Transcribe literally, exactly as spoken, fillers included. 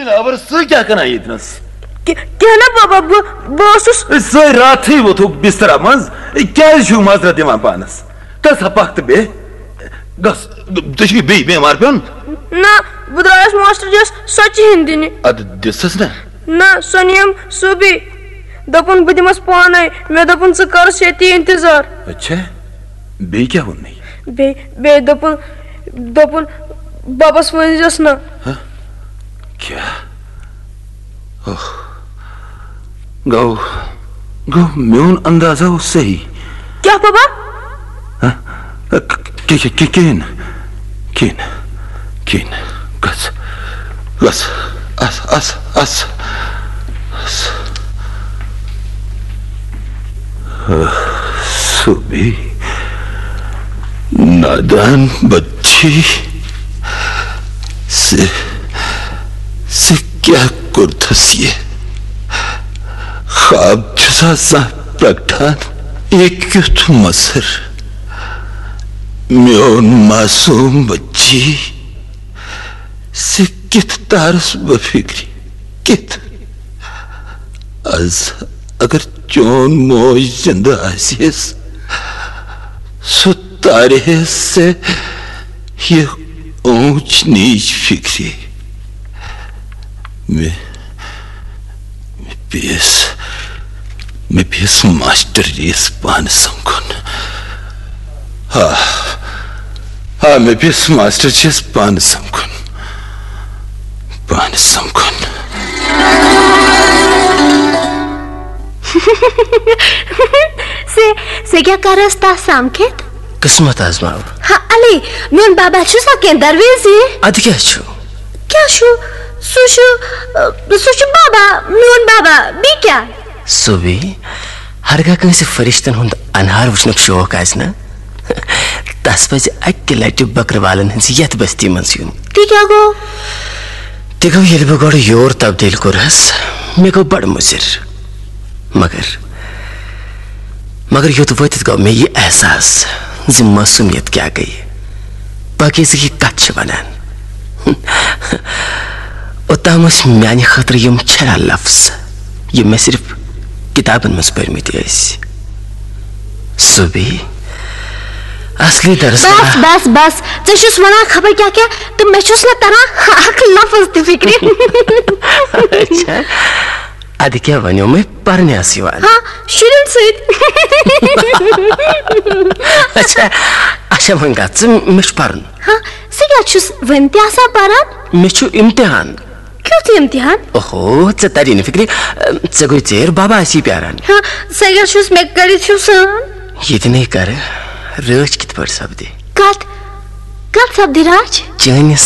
خبر سُہ کیٛاہ کران ییٚتنس؟ کہِ-، کینٛہہ نہ بابا، بہٕ، بہٕ اوسُس۔ سٲرۍ راتھٕے ووٚتھُکھ بسترا منٛز، کیٛازِ چھُو معذرت دِوان پانس؟ گژھ سا پکھ تہٕ بیٚہہ۔ گژھ، ژےٚ چھُے بیٚیہِ بٮ۪مار پیوٚن؟ نہ، بہٕ درٛایس ماسٹر جِیَس سۄ چِہِنۍ دِنہِ۔ ادٕ دِژٕس نہ؟ نہ، سۄ نِیَم سُہ بیٚیہِ۔ دوٚپُن، "بہٕ دِمس پانے۔" مےٚ دوٚپُن، "ژٕ کرس ییٚتی انتظار۔" اچھا، بیٚیہِ کیٛاہ ووٚن مےٚ؟ بیٚیہِ، بیٚیہِ دوٚپُن، دوٚپُن، "ببس ؤنۍزٮ۪س نہٕ۔" ہہ؟ کیٛاہ؟ اوہ۔ گوٚو، گوٚو میون اندازہ اوس صحیح۔ کیٛاہ بابا؟ ہہ؟ کہِ-، کہِ-، کہِ-، کِہیٖنۍ نہٕ۔ کِہیٖنۍ نہٕ۔ کِہیٖنۍ نہٕ۔ گژھ۔ گژھ۔ اَس، اَس، اَس۔ اَس۔ سُہ بیٚیہِ نادان بچی۔ ژےٚ، ژےٚ کیٛاہ کوٚرتھس یہِ؟ خواب چھُسا زانٛہہ پرٛگٹان؟ یہِ کیُتھ مَسر؟ میون معصوم بچی، ژےٚ کِتھ تارس بہٕ فِکرِ؟ کِتھ؟ از اگر چون موج زندٕ آسہِ ہے، سُہ تارِ ہے ژےٚ یہِ اوٗنچ نیٖچ فِکرِ۔ مےٚ، مےٚ پیٚیَس، مےٚ پیٚیَس ماسٹر جِیَس پانہٕ سمکھُن۔ آ، آ، مےٚ پیٚیَس ماسٹر جِیَس پانہٕ سمکھُن۔ پانہٕ سمکھُن۔ سے، سے کیٛاہ کرس تس سمکھِتھ؟ قسمت آزماو۔ ہا، علی، میون بابا چھُ سا کینٛہہ درویزی؟ ادٕ کیٛاہ چھُ؟ کیٛاہ چھُ؟ سُہ چھُ، سُہ چھُ بابا، میون بابا، بیٚیہِ کیٛاہ؟ سُہ بیٚیہِ، ہرگاہ کٲنٛسہِ فرشتن ہُنٛد انہار وٕچھنُک شوق آسہِ نا، تس پزِ اکہِ لٹہِ بکروالن ہٕنٛزِ یتھ بستی منٛز یُن۔ تہِ کیٛاہ گوٚو؟ تہِ گوٚو، ییٚلہِ بہٕ گۄڈٕ یور تبدیٖل کوٚرہس، مےٚ گوٚو بڑٕ مُضِر۔ مگر، مگر یوٚت وٲتِتھ گوٚو مےٚ یہِ احساس زِ معصومیت کیٛاہ گٔیہِ، پاکیزگی کتھ چھِ ونان۔ اوٚتام ٲسۍ میانہِ خٲطرٕ یِم چھرا لفظ، یِم مےٚ صرف کِتابن منٛز پٔرمٕتۍ ٲسۍ۔ سُہ بیٚیہِ اصلی درس بس، بس، بس۔ ژےٚ چھُس ونان خبر کیٛاہ کیٛاہ، تہٕ مےٚ چھُس نہٕ تران اکھ لفظ تہِ فِکرِ۔ اچھا، ادٕ کیٛاہ ونیو مےٚ پرنہِ آسہٕ یِوان؟ ہاں، شُرٮ۪ن سۭتۍ۔ اچھا، اچھا، وۄنۍ گژھ ژٕ، مےٚ چھُ پرُن۔ ہاں، ژٕ کیٛاہ چھُس وۄنۍ تہِ آسان پران؟ مےٚ چھُ امتحان۔ کیُتھ امتحان؟ اوہو، ژےٚ تری نہٕ فِکرِ، ژےٚ گوٚے ژیر، بابا آسی پیاران۔ ہاں، ژٕ کیٛاہ چھُس مےٚ کٔرِتھ چھُو سان؟ ییٚتہِ نے کرٕ، رٲچھ کِتھ پٲٹھۍ سپدِ؟ کتھ؟ کتھ سپدِ راچھ؟ چٲنِس